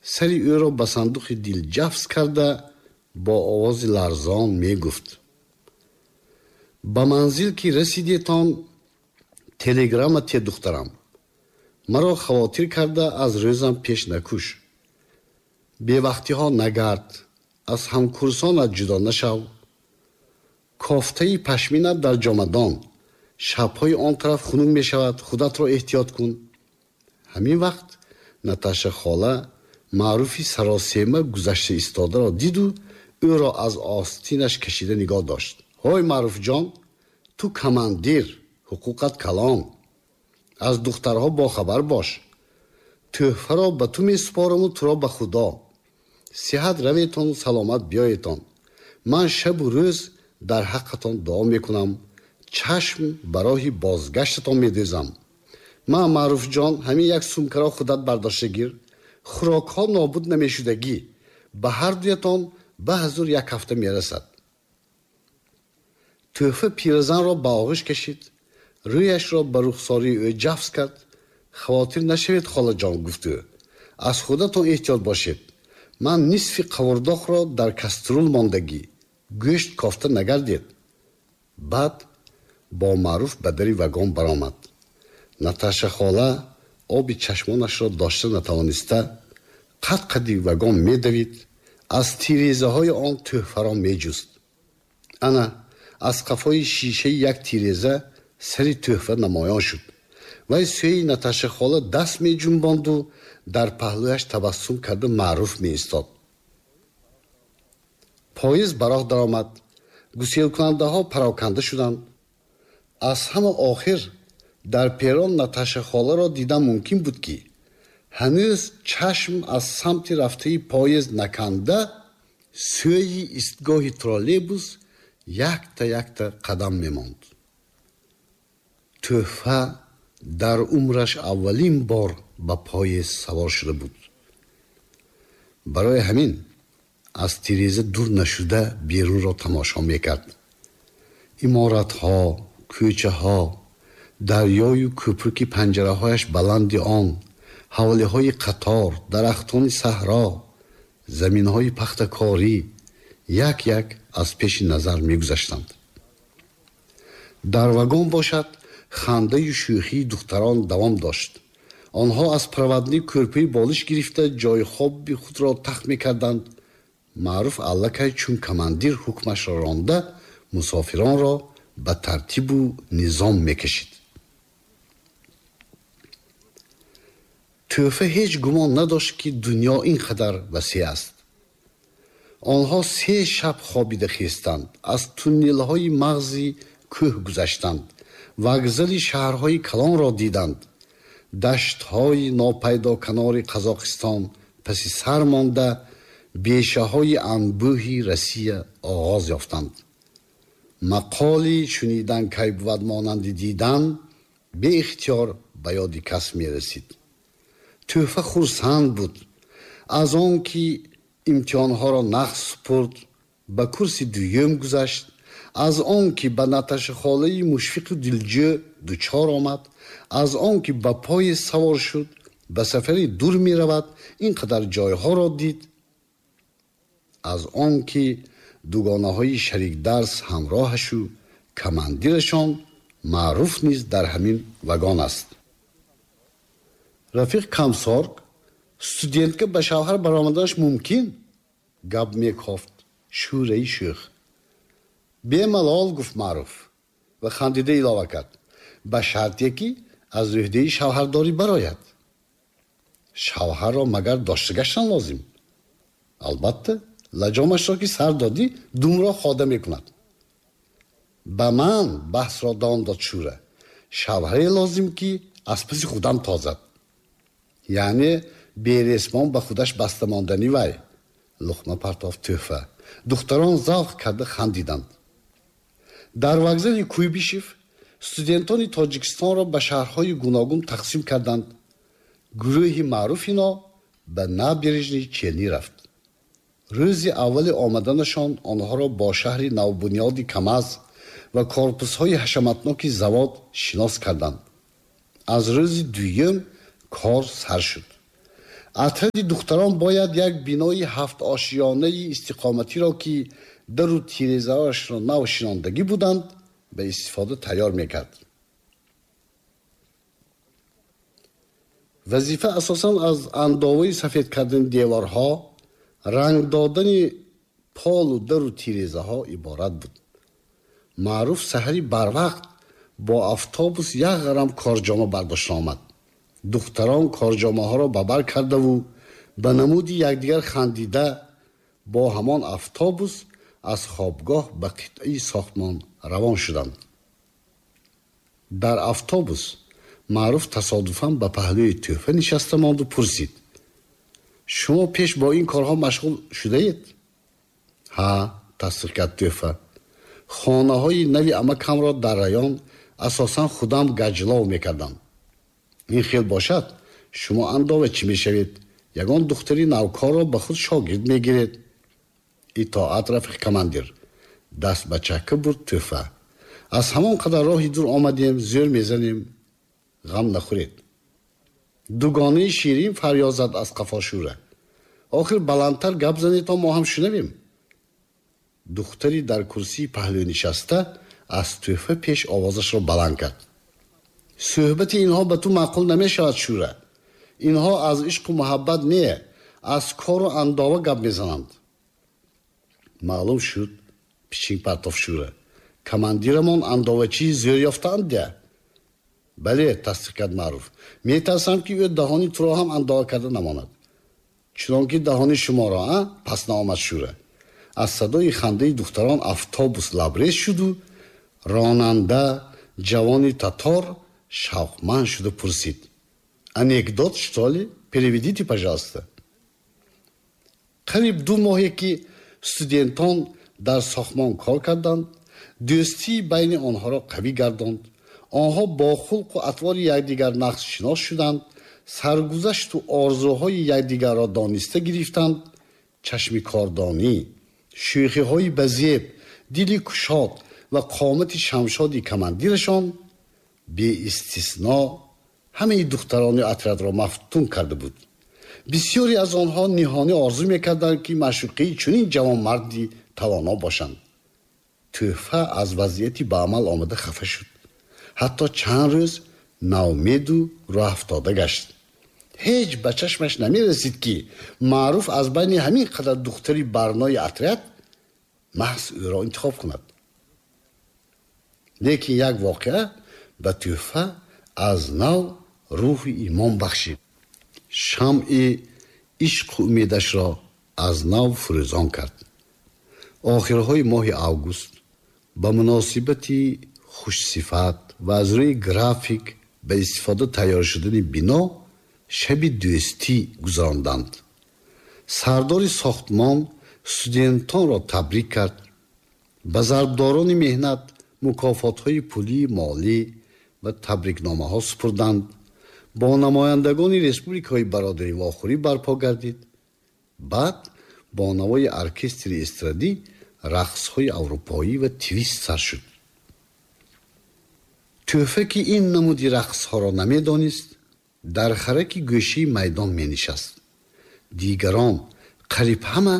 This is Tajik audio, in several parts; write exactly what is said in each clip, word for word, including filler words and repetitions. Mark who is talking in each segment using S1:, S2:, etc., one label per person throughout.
S1: Сари ӯро ба сандуқи дил ҷафс карда, бо овози ларзон мегуфт: ба манзил ки расидетон, телеграмма те, духтарам. Маро хавотир карда, аз рӯзам пеш накуш. Бевақтиҳо нагард, аз ҳамкурсонат ҷудо нашав. Кофтаи пашминат дар ҷомадон, шабҳои он тараф хунук мешавад, худатро эҳтиёт кун. Ҳамин вақт Наташа хола Маъруфи саросема гузашта истодаро диду ӯро аз остинаш кашида нигоҳ дошт. Ҳой, Маъруфҷон, ту командир, ҳуқуқат калон, аз духтарҳо бохабар бош. Тӯҳфаро ба ту месупораму туро ба Худо. Сиҳат раветону саломат биёетон. Ман шабу рӯз дар ҳаққатон дуо мекунам, чашм ба роҳи бозгаштатон медӯзам. Ман, Маъруфҷон, ҳамин як сумкаро худат бардошта гир. Хӯрокҳо нобуд намешудагӣ, ба ҳар дуятон ба ҳазур як ҳафта мерасад. Тӯҳфа пиразанро ба оғӯш кашид, рӯяшро ба рухсории ӯ ҷафс кард. Хавотир нашавед, холаҷон, гуфт ӯ, аз худатон эҳтиёт бошед. Ман нисфи қавурдоқро дар каструл мондагӣ, гӯшт кофта нагардед. Баъд бо Маъруф ба дари вагон баромад. Наташа хола оби чашмонашро дошта натавониста, қад қади вагон медавид, аз тирезаҳои он тӯҳфаро меҷуст. Ана аз қафои шишаи як тиреза сари тӯҳфа намоён шуд. Вай сӯи Наташа хола даст меҷунбонду дар паҳлӯяш табассум карда Маъруф меистод. Поезд ба роҳ даромад. Гуселкунандаҳо пароканда шуданд. Аз ҳама охир дар перон Наташа холаро дидан мумкин буд, ки ҳанӯз чашм аз самти рафтаи поезд наканда, сӯи истгоҳи троллейбус якта якта қадам мемонд. Тӯҳфа дар умраш аввалин бор ба поезд савор шуда буд. Барои ҳамин аз тиреза дур нашуда берунро тамошо мекард. Иморатҳо, кӯчаҳо, дарёю кӯпруки панҷараҳояш баланди он, ҳавлиҳои қатор, дарахтони саҳро, заминҳои пахтакорӣ як як аз пеши назар мегузаштанд. Дар вагон бошад, хандаю шӯхии духтарон давом дошт. Онҳо аз проводник кӯрпаи болиш гирифта, ҷои хоби худро тахт мекарданд. Маъруф аллакай чун командир ҳукмашро ронда, мусофиронро ба тартибу низом мекашид. Тӯҳфа ҳеҷ гумон надошт, ки дунё ин қадар васеъ аст. Онҳо се шаб хобида хестанд, аз туннелҳои мағзи кӯҳ гузаштанд, вокзали шаҳрҳои калонро диданд. Даштҳои нопайдо канори Қазоқистон паси сар монда, бешаҳои анбӯҳи Россия оғоз ёфтанд. Мақоли шунидан кай бувад монанди дидан беихтиёр ба ёди кас мерасид. Тӯҳфа хурсанд буд аз он ки имтиҳонҳоро нақс супурд, ба курси дуюм гузашт, аз он ки ба Наташа холаи мушфиқу дилҷӯ дучор омад, аз он ки ба поезд савор шуд, ба сафари дур меравад, ин қадар ҷойҳоро дид, аз он ки дугонаҳои шарикдарс ҳамроҳашу командирашон Маъруф низ дар ҳамин вагон аст. Рафиқ Камсорг, студентка ба шавҳар баромаданаш мумкин? Гап мекофт шӯраи шӯх. Бемалол, гуфт Маъруф ва хандида илова кард: ба шарте ки аз ӯҳдаи шавҳардорӣ барояд. Шавҳарро магар дошта гаштан лозим? Албатта, лаҷомашро ки сар додӣ, думро хода мекунад. Ба ман баҳсро давом дод Шӯра. Шавҳаре лозим, ки аз паси худам тозад. Яъне бересмон ба худаш баста мондани вай. Луқма партофт тӯҳфа. Духтарон завқ карда хандиданд. Дар вокзали Куйбишев студентони Тоҷикистонро ба шаҳрҳои гуногун тақсим карданд. Гурӯҳи маъруфино ба Набережни Челни рафт. Рӯзи аввали омаданашон онҳоро бо шаҳри навбунёди Камаз ва корпусҳои ҳашаматноки завод шинос карданд. Аз рӯзи дуюм кор сар шуд. Отряди духтарон бояд як бинои ҳафтошиёнаи истиқоматиро, ки дару тирезаашро нав шинондагӣ буданд, ба истифода тайёр мекард. Вазифа асосан аз андоваи сафед кардани деворҳо, ранг додани полу дару тирезаҳо иборат буд. Маъруф саҳари барвақт бо автобус як ғарам корҷома бардошта омад. Духтарон корҷомаҳоро ба бар кардаву ба намуди якдигар хандида бо ҳамон автобус аз хобгоҳ ба қитъаи сохтмон равон шуданд. Дар автобус Маъруф тасодуфан ба паҳлӯи Тӯҳфа нишаста монду пурсид: шумо пеш бо ин корҳо машғул шудаед? Ҳа, тасдиқ кард Тӯҳфа. Хонаҳои нави амакамро дар район асосан худам гаҷлов мекардам. Ин хел бошад, шумо андова чӣ мешавед? Ягон духтари навкорро ба худ шогирд мегиред. Итоат, рафиқ командир. Даст ба чакка бурд Тӯҳфа. Аз ҳамон қадар роҳи дур омадем, зӯр мезанем, ғам нахӯред. Дугонаи ширин фарёд зад аз қафо Шӯра: охир баландтар гап занед, то мо ҳам шунавем. Духтари дар курсии паҳлӯ нишаста аз Тӯҳфа пеш овозашро баланд кард: суҳбати инҳо ба ту маъқул намешавад, Шӯра. Инҳо аз ишқу муҳаббат не, аз кору андова гап мезананд. Маълум шуд, пичинг партоф Шӯра. Командирамон андовачии зӯр ёфтаанд дя? Бале, тасдиқ кард Маъруф. Метарсам, ки ӯ даҳони туро ҳам андова карда намонад. Чунон ки даҳони шуморо, а? Пас наомад Шӯра. Аз садои хандаи духтарон автобус лабрез шуду ронанда, ҷавони татор, шавқманд шуда пурсид: анекдот, что ли? Переведите, пожалуйста. Қариб ду моҳе ки студентон дар сохтмон кор карданд, дӯстии байни онҳоро қавӣ гардонд. Онҳо бо хулқу атвори якдигар нақшшинос шуданд, саргузашту орзуҳои якдигарро дониста гирифтанд. Чашми кордонӣ, шӯхиҳои базеб, дили кушод ва қомати шамшоди командирашон беистисно ҳамаи духтарони отрядро мафтун карда буд. Бисёре аз онҳо ниҳонӣ орзу мекарданд, ки маъшуқаи чунин ҷавонмарди тавоно бошанд. Тӯҳфа аз вазъияти ба амал омада хафа шуд. Ҳатто чанд рӯз наумеду роҳафтода гашт. Ҳеҷ ба чашмаш намерасид, ки Маъруф аз байни ҳамин қадар духтари барнои отряд маҳз ӯро интихоб кунад. Лекин як воқеа ба Тӯҳфа аз нав рӯҳи имон бахшид. Шамъи ишқу умедашро аз нав фурӯзон кард. Охирҳои моҳи август ба муносибати хушсифат ва аз рӯи график ба истифода тайёр шудани бино шаби дӯстӣ гузаронданд. Сардори сохтмон студентонро табрик кард. Ба зарбдорони меҳнат мукофотҳои пулии молӣ ва табрикномаҳо супурданд. Бо намояндагони республикаҳои бародарӣ вохӯрӣ барпо гардид. Баъд бо навои оркестри эстрадӣ рақсҳои аврупоӣ ва твист сар шуд. Тӯҳфа, ки ин намуди рақсҳоро намедонист, дар хараки гӯшии майдон менишаст. Дигарон қариб ҳама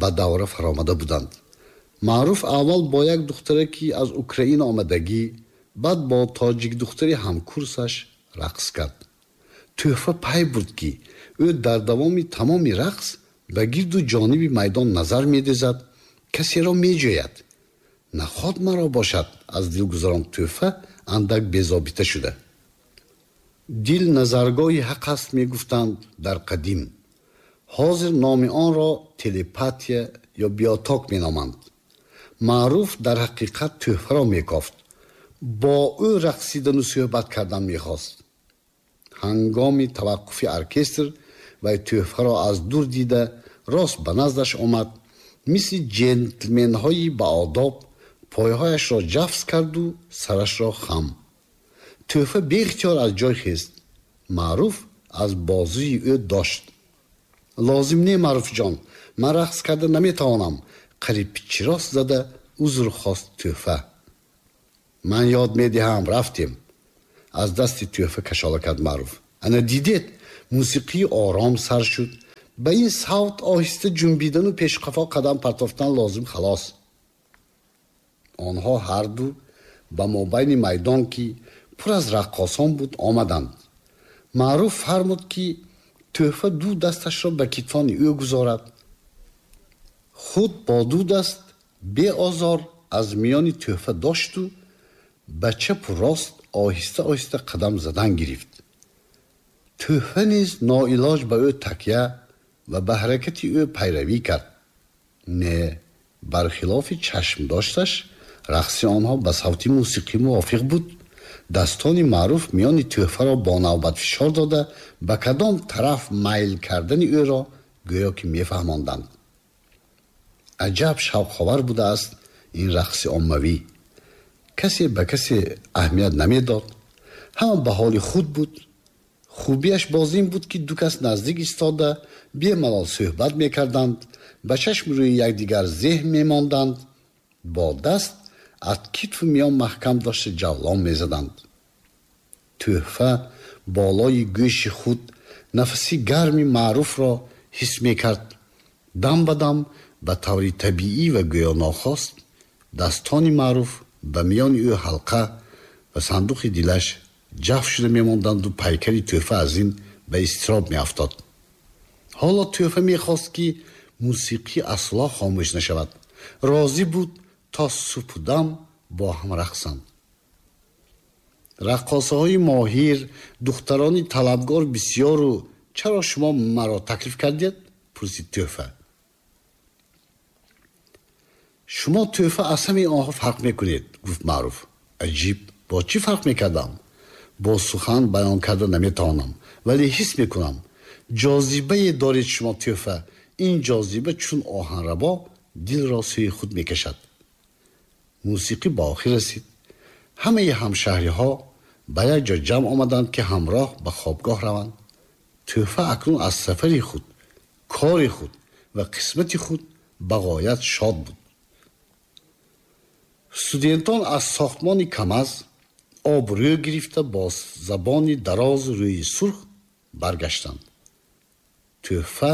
S1: ба давра фаромада буданд. Маъруф аввал бо як духтаре, ки аз Украина омадагӣ, баъд бо тоҷик духтари ҳамкурсаш рақс кард. Тӯҳфа пай бурд, ки ӯ дар давоми тамоми рақс ба гирду ҷониби майдон назар медезад, касеро меҷӯяд. Наход маро бошад, аз дил гузаронд Тӯҳфа андак безобита шуда. Дил назаргоҳи ҳақ аст, мегуфтанд дар қадим. Ҳозир номи онро телепатия ё биоток меноманд. Маъруф дар ҳақиқат тӯҳфаро мекофт. Бо ӯ рақсидану суҳбат кардан мехост. Ҳангоми таваққуфи оркестр вай тӯҳфаро аз дур дида рост ба наздаш омад. Мисли ҷентлменҳои баодоб пойҳояшро ҷафз карду сарашро хам. Тӯҳфа беихтиёр аз ҷой хест. Маъруф аз бозуи ӯ дошт. Лозим не, Маъруфҷон, ман рақс карда наметавонам, қариб пичирост зада узр хост тӯҳфа. Ман ёд медиҳам, рафтем. Аз дасти тӯҳфа кашола кард Маъруф. Ана дидед, Мусиқӣ ором сар шуд. Ба ин савт оҳиста ҷунбидану пешқафо қадам партофтан лозим, халос. Онҳо ҳарду ба мобайни майдон, ки пур аз раққосон буд, омаданд. Маъруф фармуд, ки Тӯҳфа ду дасташро ба китфони ӯ гузорад. Худ бо ду даст беозор аз миёни Тӯҳфа дошту ба чапу рост оҳиста оҳиста қадам задан гирифт. Тӯҳфа низ ноилоҷ ба ӯ такя ва ба ҳаракати ӯ пайравӣ кард. Не, бархилофи чашм дошташ, рақси онҳо ба савти мусиқӣ мувофиқ буд. Дастони Маъруф миёни Тӯҳфаро бо навбат фишор дода, ба кадом тараф майл кардани ӯро гӯё ки мефаҳмонданд. Аҷаб шавқовар будааст ин рақси оммавӣ. Касе ба касе аҳамият намедод, ҳама ба ҳоли худ буд. Хубиаш боз ин буд, ки ду кас наздик истода бемалол суҳбат мекарданд, ба чашми рӯи якдигар зеҳн мемонданд, бо даст аз китфу миён маҳкам дошта ҷавлон мезаданд. Тӯҳфа болои гӯши худ нафаси гарми Маъруфро ҳис мекард. Дам ба дам ба таври табиӣ ва гӯё нохост дастони Маъруф ба миёни ӯ ҳалқа ва сандуқи дилаш ҷаф шуда мемонданду пайкари Тӯҳфа аз ин ба изтироб меафтод. Ҳоло Тӯҳфа мехост, ки мусиқӣ асло хомӯш нашавад. Розӣ буд то субҳдам бо ҳам рақсанд. Раққосаҳои моҳир, духтарони талабгор бисёру чаро шумо маро таклиф кардед? Пурсид Тӯҳфа. Шумо, Тӯҳфа, аз ҳамаи онҳо фарқ мекунед, гуфт Маъруф. Аҷиб, бо чӣ фарқ мекардам? Бо сухан баён карда наметавонам, вале ҳис мекунам. Ҷозибае доред шумо, Тӯҳфа. Ин ҷозиба чун оҳанрабо дилро сӯи худ мекашад. Мусиқӣ ба охир расид. Ҳамаи ҳамшаҳриҳо ба як ҷо ҷамъ омаданд, ки ҳамроҳ ба хобгоҳ раванд. Тӯҳфа акнун аз сафари худ, кори худ ва қисмати худ ба ғоят шод буд. Студентон аз сохтмони КАМАЗ обрӯ гирифта бо забони дарозу рӯи сурх баргаштанд. Тӯҳфа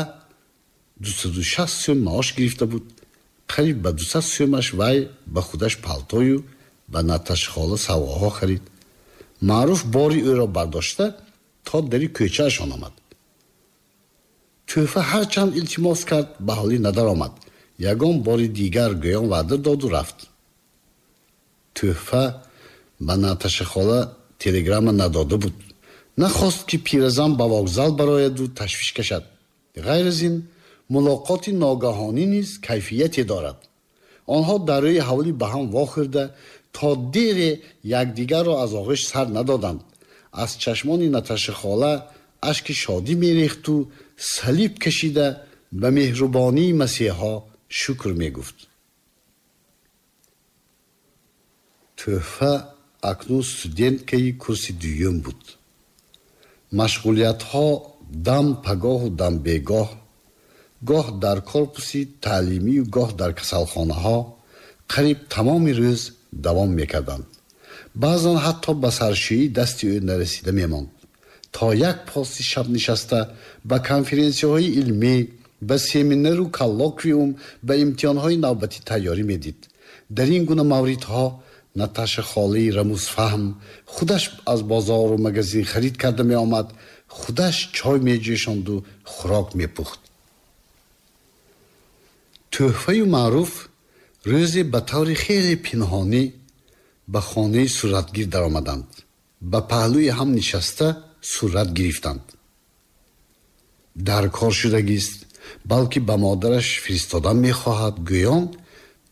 S1: дусаду шаст сӯм маош гирифта буд. Қариб ба дусад сӯмаш вай ба худаш палтою ба Наташхола савғоҳо харид. Маъруф бори ӯро бардошта то дари кӯчаашон омад. Тӯҳфа ҳарчанд илтимос кард, ба ҳолӣ надаромад. Ягон бори дигар гӯён ваъда доду рафт. Тӯҳфа ба Наташахола телеграмма надода буд. Нахост, ки пиразан ба вокзал барояду ташвиш кашад. Ғайр аз ин, мулоқоти ногаҳонӣ низ кайфияте дорад. Онҳо дар рӯи ҳавлӣ ба ҳам вохӯрда то дере якдигарро аз оғӯш сар надоданд. Аз чашмони Наташахола ашки шодӣ мерехту салиб кашида ба меҳрубонии Масеҳо шукр мегуфт. Тӯҳфа акнун студенткаи курси дуюм буд. Машғулиятҳо дам пагоҳу дам бегоҳ, гоҳ дар корпуси таълимию гоҳ дар касалхонаҳо қариб тамоми рӯз давом мекарданд. Баъзан ҳатто ба саршӯӣ дасти ӯ нарасида мемонд. То як поси шаб нишаста ба конференсияҳои илмӣ, ба семинару коллоквиум, ба имтиҳонҳои навбатӣ тайёрӣ медид. Дар ин гуна мавридҳо Наташа холаи рамузфаҳм худаш аз бозору магазин харид карда меомад, худаш чой меҷӯшонду хӯрок мепухт. Тӯҳфаю Маъруф рӯзе ба таври хеле пинҳонӣ ба хонаи суратгир даромаданд. Ба паҳлӯи ҳам нишаста сурат гирифтанд. Дар кор шудагист, балки ба модараш фиристодан мехоҳад, гӯён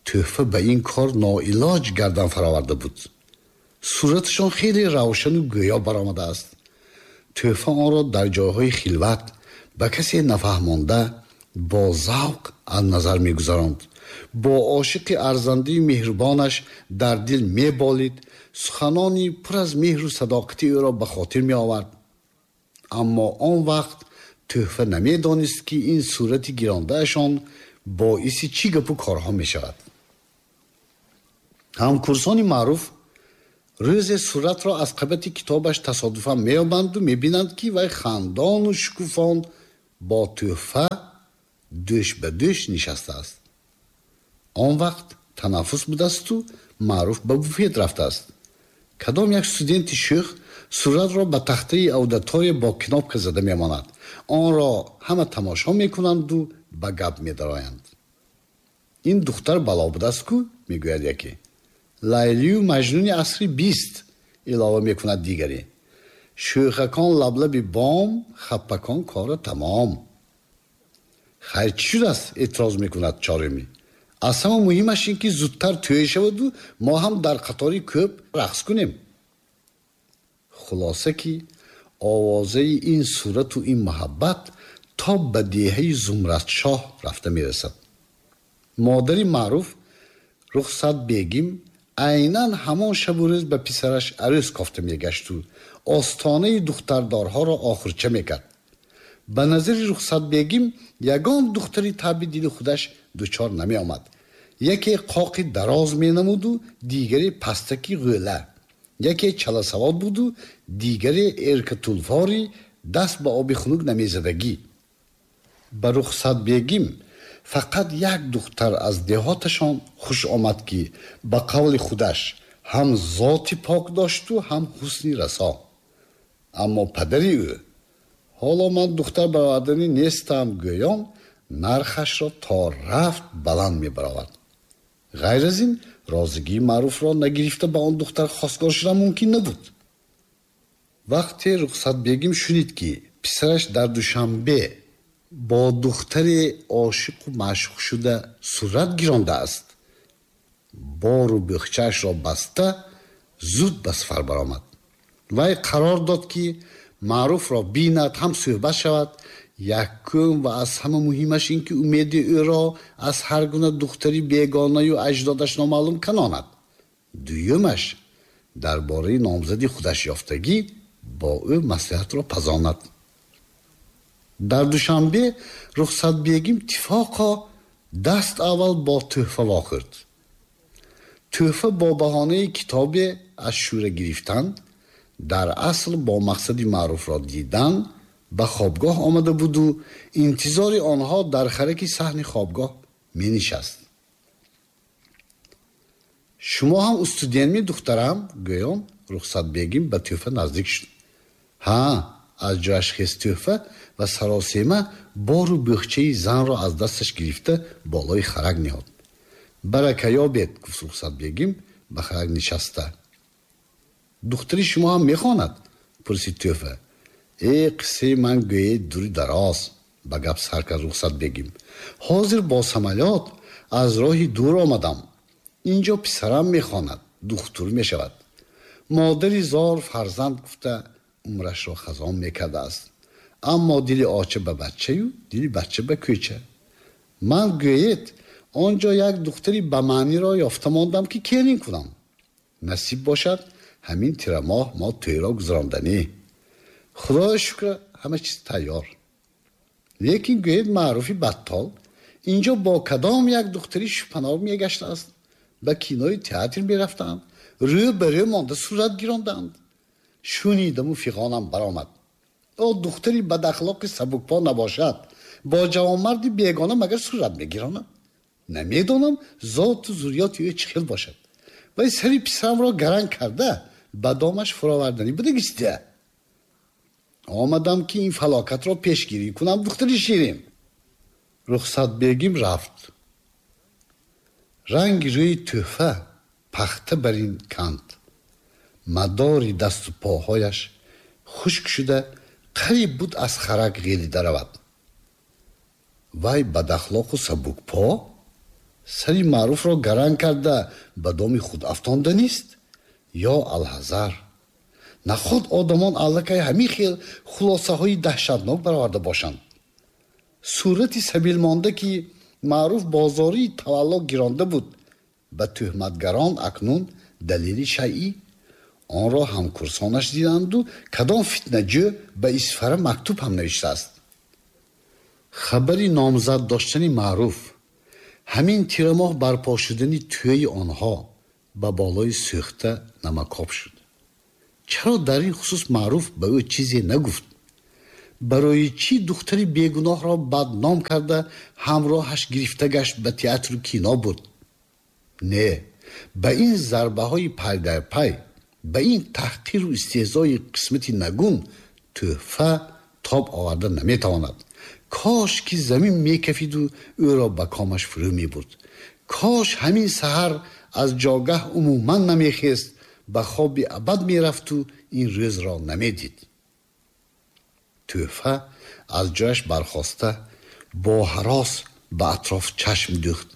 S1: Тӯҳфа ба ин кор ноилоҷ гардан фароварда буд. Сураташон хеле равшану гӯё баромадааст. Тӯҳфа онро дар ҷойҳои хилват ба касе нафаҳмонда бо завқ аз назар мегузаронд. Бо ошиқи арзандаю меҳрубонаш дар дил меболид, суханони пур аз меҳру садоқати ӯро ба хотир меовард. Аммо он вақт Тӯҳфа намедонист, ки ин сурати гирондаашон боиси чӣ гапу корҳо мешавад. Ҳамкурсони Маъруф Рӯзе суратро аз қабати китобаш тасодуфан меёбанду мебинанд, ки вай хандону шукуфон бо тӯҳфа дӯш ба дӯш нишастааст. Он вақт танаффус будасту Маъруф ба буфет рафтааст. Кадом як студенти шӯх суратро ба тахтаи аудитория бо кнопка зада мемонад. Онро ҳама тамошо мекунанду ба гап медароянд. Ин духтар бало будааст ку, мегӯяд яке. Лайлию Маҷнуни асри бист, илова мекунад дигаре. Шӯхакон лаблаби бом, хаппакон кора тамом. Хайр, чӣ шудааст? Эътироз мекунад чорумӣ. Аз ҳама муҳимаш ин ки зудтар тӯй шаваду мо ҳам дар қатори кӯп рақс кунем. Хулоса ки овозаи ин сурату ин муҳаббат то ба деҳаи Зумратшоҳ рафта мерасад. Модари Маъруф Рухсат бегим айнан ҳамон шабу рӯз ба писараш арӯс кофта мегашту остонаи духтардорҳоро охирча мекард. Ба назари Рухсат бегим ягон духтари таби дили худаш дучор намеомад. Яке қоқи дароз менамуду дигаре пастаки ғӯла, яке чаласавод буду дигаре эркатулфори даст ба оби хунук намезадагӣ. Ба Рухсат бегим фақат як духтар аз деҳоташон хуш омад, ки ба қавли худаш ҳам зоти пок дошту ҳам ҳусни расо. Аммо падари ӯ ҳоло ман духтар бароварданӣ нестам гӯён нархашро то рафт баланд мебаровард. Ғайр аз ин розигии Маъруфро нагирифта ба он духтар хостгор шудан мумкин набуд. Вақте Рухсат бегим шунид, ки писараш дар Душанбе бо духтаре ошиқу маъшуқ шуда сурат гирондааст, бору бӯхчаашро баста зуд ба сафар баромад. Вай қарор дод, ки Маъруфро бинад, ҳам суҳбат шавад. Якум ва аз ҳама муҳимаш ин ки умеди ӯро аз ҳар гуна духтари бегонаю аҷдодаш номаълум канонад. Дуюмаш дар бораи номзади худаш ёфтагӣ бо ӯ маслиҳатро пазонад. Дар Душанбе Рухсат бегим тифоқо даст аввал бо тӯҳфа вохӯрд. Тӯҳфа бо баҳонаи китобе аз шӯра гирифтан, дар асл бо мақсади Маъруфро дидан ба хобгоҳ омада буду интизори онҳо дар хараки саҳни хобгоҳ менишаст. Шумо ҳам студентми, духтарам? Гӯён Рухсат бегим ба тӯҳфа наздик шуд. Ҳа, аз ҷояш хест тӯҳфа ва саросема бору бӯхчаи занро аз дасташ гирифта болои харак ниҳод. Барака ёбед, гуфт Рухсат бегим ба харак нишаста. Духтари шумо ҳам мехонад? Пурсид тӯҳфа. Э, қиссаи ман гӯед дури дароз, ба гап сар кард Рухсат бегим. Ҳозир бо самолёт аз роҳи дур омадам. Инҷо писарам мехонад, духтур мешавад. Модари зор фарзанд гуфта умрашро хазон мекардааст. Аммо дили оча ба бачаю дили бача ба кӯча. Ман гӯед он ҷо як духтари ба маъниро ёфта мондам, ки келин кунам. Насиб бошад, ҳамин тирамоҳ мо тӯйро гузаронданӣ. Худоё шукр, ҳама чиз тайёр. Лекин гӯед Маъруфи баттол инҷо бо кадом як духтари шупанор мегаштааст. Ба кинои театр мерафтанд, рӯ ба рӯ монда сурат гиронданд. Шунидаму фиғонам баромад. О, духтари бадахлоқи сабукпо набошад, бо ҷавонмарди бегона магар сурат мегиронад? Намедонам зоту зурриёти ӯ чӣ хел бошад. Вай сари писарамро гаранг карда ба домаш фуроварданӣ будагистия. Омадам, ки ин фалокатро пешгирӣ кунам, духтари ширин. Рухсат бегим рафт. Ранги рӯи тӯҳфа пахта бар ин канд. Мадори дасту поҳояш хушк шуда қариб буд аз харак ғелида равад. Вай бадахлоқу сабукпо сари Маъруфро гаранг карда ба доми худ афтонданист? Ё алҳазар, наход одамон аллакай ҳамин хел хулосаҳои даҳшатнок бароварда бошанд. Сурати сабилмонда, ки Маъруф бозории тавалло гиронда буд, ба тӯҳматгарон акнун далели шайъӣ. Онро ҳамкурсонаш диданду кадом фитнаҷӯ ба Исфара мактуб ҳам навиштааст. Хабари номзад доштани Маъруф, ҳамин тирамоҳ барпо шудани тӯйи онҳо ба болои сӯхта намакоб шуд. Чаро дар ин хусус Маъруф ба ӯ чизе нагуфт? Барои чӣ духтари бегуноҳро бадном карда ҳамроҳаш гирифта гашт ба театру кино буд? Не, ба ин зарбаҳои пай дар пай, ба ин таҳқиру истеҳзои қисмати нагун Тӯҳфа тоб оварда наметавонад. Кош ки замин мекафиду ӯро ба комаш фурӯ мебурд. Кош ҳамин саҳар аз ҷогаҳ умуман намехест, ба хоби абад мерафту ин рӯзро намедид. Тӯҳфа аз ҷояш бархоста бо ҳарос ба атроф чашм дӯхт.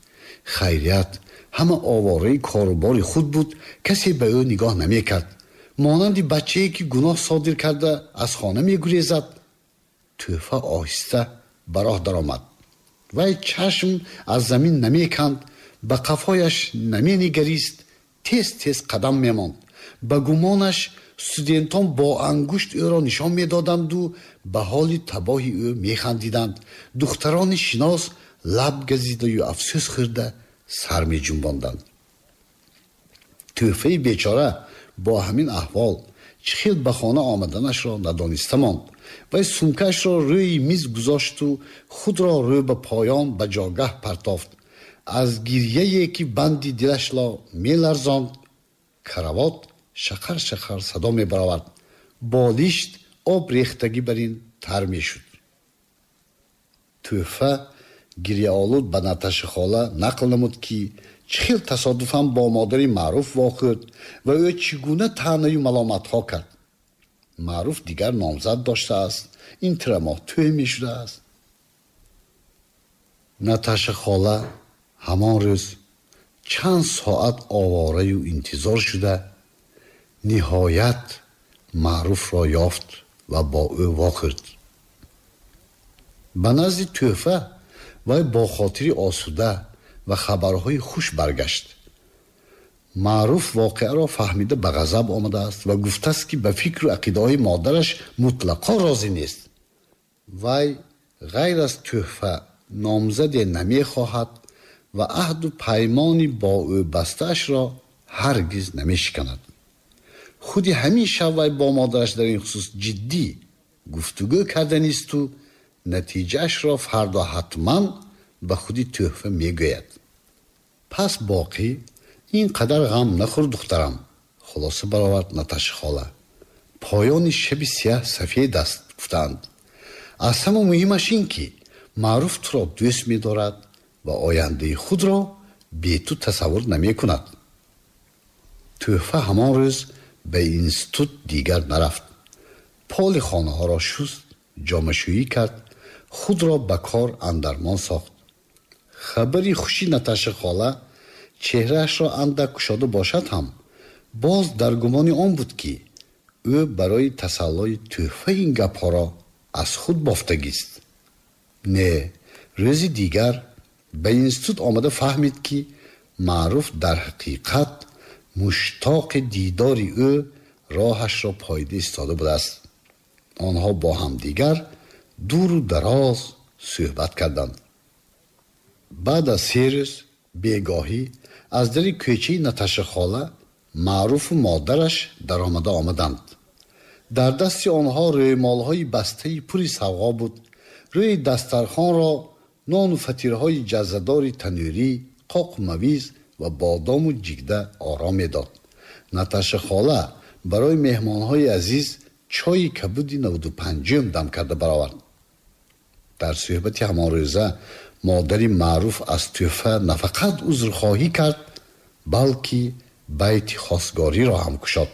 S1: Хайрият, ҳама овораи корубори худ буд, касе ба ӯ нигоҳ намекард. Монанди бачае ки гуноҳ содир карда аз хона мегурезад, Тӯҳфа оҳиста ба роҳ даромад. Вай чашм аз замин намеканд, ба қафояш наменигарист, тез тез қадам мемонд. Ба гумонаш студентон бо ангушт ӯро нишон медоданду ба ҳоли табоҳи ӯ механдиданд. Духтарони шинос лаб газидаю афсӯс хӯрда сар меҷунбонданд. Тӯҳфаи бечора бо ҳамин аҳвол чӣ хел ба хона омаданашро надониста монд. Вай сумкаашро рӯи миз гузошту худро рӯ ба поён ба ҷогаҳ партофт. Аз гирьяе ки банди дилашро меларзонд, каравот шақар шақар садо мебаровард. Болишт об рехтагӣ бар ин тар мешуд. Тӯҳфа гирьяолуд ба Наташа хола нақл намуд, ки чӣ хел тасодуфан бо модари Маъруф вохӯрд ва ӯ чӣ гуна таънаю маломатҳо кард. Маъруф дигар номзад доштааст, ин тирамоҳ тӯй мешудааст. Наташа хола ҳамон рӯз чанд соат овораю интизор шуда ниҳоят Маъруфро ёфт ва бо ӯ вохӯрд. Ба назди Тӯҳфа вай бо хотири осуда ва хабарҳои хуш баргашт. Маъруф воқеаро фаҳмида ба ғазаб омадааст ва гуфтааст, ки ба фикру ақидаҳои модараш мутлақо розӣ нест. Вай ғайр аз Тӯҳфа номзаде намехоҳад ва аҳду паймони бо ӯ бастаашро ҳаргиз намешиканад. Худи ҳамин шаб вай бо модараш дар ин хусус ҷиддӣ гуфтугӯ карданисту натиҷаашро фардо ҳатман ба худи Тӯҳфа мегӯяд. Пас боқӣ ин қадар ғам нахӯр, духтарам, хулоса баровард Наташа хола. Поёни шаби сияҳ сафед аст, гуфтаанд. Аз ҳама муҳимаш ин ки Маъруф туро дӯст медорад ва ояндаи худро бе ту тасаввур намекунад. Тӯҳфа ҳамон рӯз ба институт дигар нарафт. Поли хонаҳоро шуст, ҷомашӯӣ кард, худро ба кор андармон сохт. Хабари хуши Наташа хола чеҳраашро андак кушода бошад ҳам, боз дар гумони он буд, ки ӯ барои тасаллои тӯҳфа ин гапҳоро аз худ бофтагист. Не, рӯзи дигар ба институт омада фаҳмид, ки Маъруф дар ҳақиқат муштоқи дидори ӯ роҳашро пойда истода будааст. Онҳо бо ҳамдигар дуру дароз суҳбат карданд. Баъд аз се рӯз бегоҳӣ аз дари кӯчаи Наташа хола Маъруфу модараш даромада омаданд. Дар дасти онҳо рӯймолҳои бастаи пури савғо буд. Рӯи дастархонро нону фатирҳои ҷаззадори танӯрӣ, қоқу мавиз ва бодому ҷигда ором медод. Наташа хола барои меҳмонҳои азиз чойи кабуди навду панҷум дам карда баровард. Дар суҳбати ҳамон рӯза модари Маъруф аз Тӯҳфа на фақат узрхоҳӣ кард, балки байти хостгориро ҳам кушод.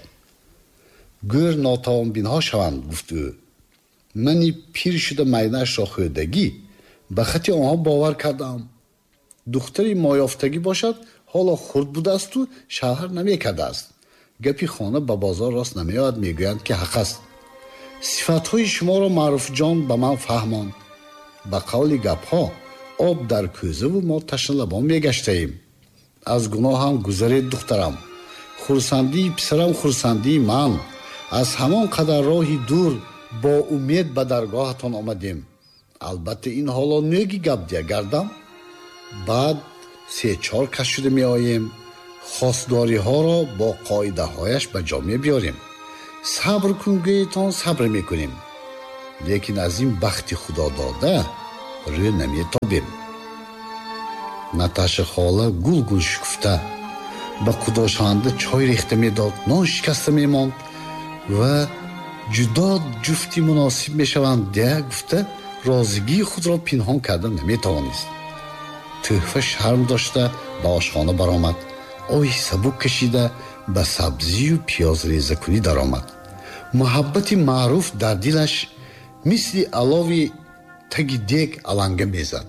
S1: Гӯр нотавонбинҳо шаванд, гуфт ӯ. Мани пир шуда майнаашро хӯрдагӣ ба хати онҳо бовар кардаам. Духтари моёфтагӣ бошад, ҳоло хурд будаасту шавҳар намекардааст. Гапи хона ба бозор рост намеояд, мегӯянд ки ҳақ аст. Сифатҳои шуморо Маъруфҷон ба ман фаҳмонд. Ба қавли гапҳо об дар кӯзаву мо ташналабон мегаштаем. Аз гуноҳам гузаред, духтарам. Хурсандии писарам хурсандии ман. Аз ҳамон қадар роҳи дур бо умед ба даргоҳатон омадем. Албатта ин ҳоло нӯги гап дия гардам. Баъд се чор кас шуда меоем. Хостгориҳоро бо қоидаҳояш ба ҷо мебиёрем. Сабр кун гӯетон, сабр мекунем, лекин аз ин бахти худодода рӯ наметобем. Наташа хола гул-гул шукуфта ба кудошаванда чой рехта медод, нон шикаста мемонд ва ҷудо ҷуфти муносиб мешаванд дея гуфта, розигии худро пинҳон карда наметавонист. Тӯҳфа шарм дошта ба ошхона баромад, оҳи сабук кашида ба сабзию пиёзрезакунӣ даромад. Муҳаббати маъруф дар дилаш мисли алови таги дег аланга мезад.